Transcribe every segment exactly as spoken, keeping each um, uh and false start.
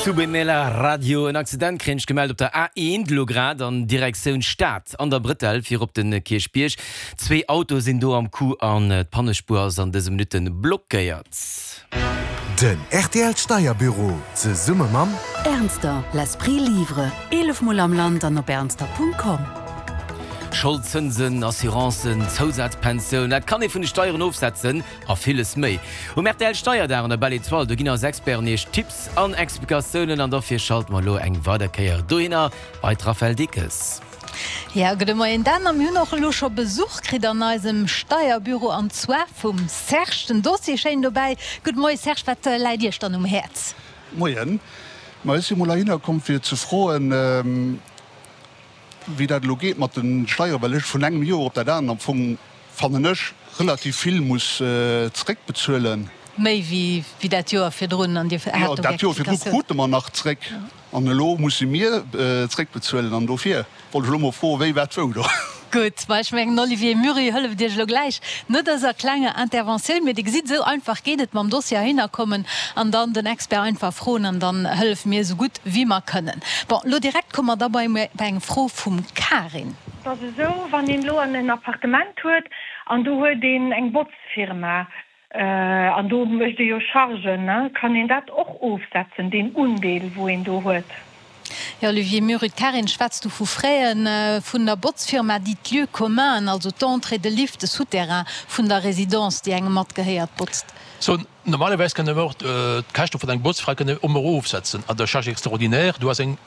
Subemela Radio. En Accident kréien ech gemellt op der A eent elo grad an Direktioun Stad an der Brëtell fir op den Kierchbierg. Zwee Autoe sinn do am Coup an d'Pannespuer ass an dëse Minutte blockéiert. Den R T L Steierbüro zesumme mam Ernster, l'esprit livre, eelef Mol am Land an op ernster Punkt com. Scholdzënsen, Assurancen, Zousazpensioun, dat kann ee vun de Steieren ofsetzen a villes méi. Um R T L Steierdag an der Belle Etoile, do ginn eis Experten iech Tipps an Explikatiounen an dofir schalte mer elo eng weider Kéier dohinner bei d'Raphaëlle Dickes. Jo, gudde Moien Dan, a mir hunn och elo scho Besuch kritt an eisem Steierbüro an zwar vum Serge, den Dossier schéin dobäi. Gudde Moie Serge, wat läit iech dann um Häerz? Moien, ma ech si mol heihinner komm fir ze froen, wéi dat elo geet mat de Steieren, well ech vun engem Joer op dat anert am Fong, fannen ech, relativ vill muss zeréckbezuelen. Méi wéi wéi dat Joer virdrun an Dir hat Jo, do dat Joer virdru Rectificatioun. krute mer nach zréck an elo musse mir zréckbezuelen an dofir wollt ech elo mol froen, wéi, wat, wou do. Gutt, ma ech mengen, Olivier Murri hëlleft Iech elo gläich no dëser klenger Interventioun. Mee Dir gesitt, esou einfach geet et mam Dossier heihinner kommen an dann den Expert einfach froen an dann hëllefe mir esou gutt wéi mer kënnen. Bon, elo direkt komme mer da bei bei eng Fro vum Karin. Et ass esou, wann een elo en Appartement huet an do huet een eng Botzfirma an do mécht ee jo Chargen, ne, kann een dat och ofsetzen, deen Undeel wou een do huet? Jo, Olivier Murri, d'Karin schwätzt do vu Fräen vun der Botzfirma, déi d'Lieux communs, also d'Entrée, de Lift, de Souterrain vun der Résidence, déi engem matgehéiert, botzt. So, normalerweis kënne mer och d'Käschte vun engem Botzfra kënne ëmmer ofsetzen an der Charge extraordinaire. Du has eng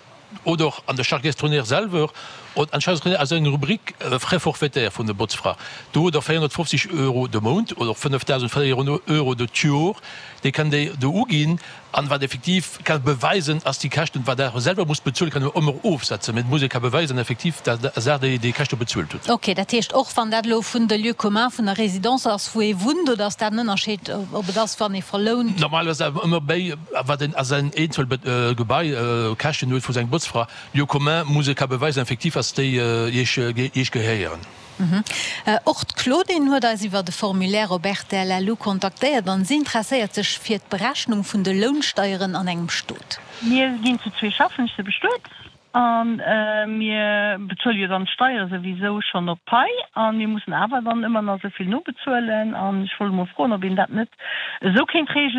oder an der Charge extraordinaire selwer und an Charge extraordinaire ass eng Rubrik Frais forfaitaires vun der Botzfra. Do hutt Der véierhonnertfofzeg Euro de Mount oder fënnefdausendvéierhonnert Euro de d'Joer, déi kënnt Dir do uginn. An wat effektiv ka beweisen, ass déi Käschten, wat Der selwer musst bezuelen, kann een ëmmer ofsetzen, mä et muss ee ka beweisen effektiv, datt Der déi déi Käschte bezuelt hutt. Ok, dat heescht, och wann dat elo vun de Lieux communs vun der Résidence ass, wou ee wunnt, oder ass dat en Ënnerscheed, ob et ass, wann ee verlount? Normalerweis awer ëmmer béi, wat een a säin eenzel Gebai Käschten huet vu sengem Botzfra. Lieux communs muss ee ka beweisen effektiv, ass déi Iech Iech gehéieren. Och d'Claudine huet eis iwwer de Formulaire op R T L L U kontaktéiert an si interesséiert sech fir d'Berechnung vun de Lounsteieren an engem Stot. Mir ginn zu zwee schaffen, ech si bestuet an mir bezuele jo dann d'Steiere souwisou schonn op d'Pai a mir mussen awer dann ëmmer nach esou vill nobezuelen an ech wollt emol froen, ob een dat net esou kéint reegelen.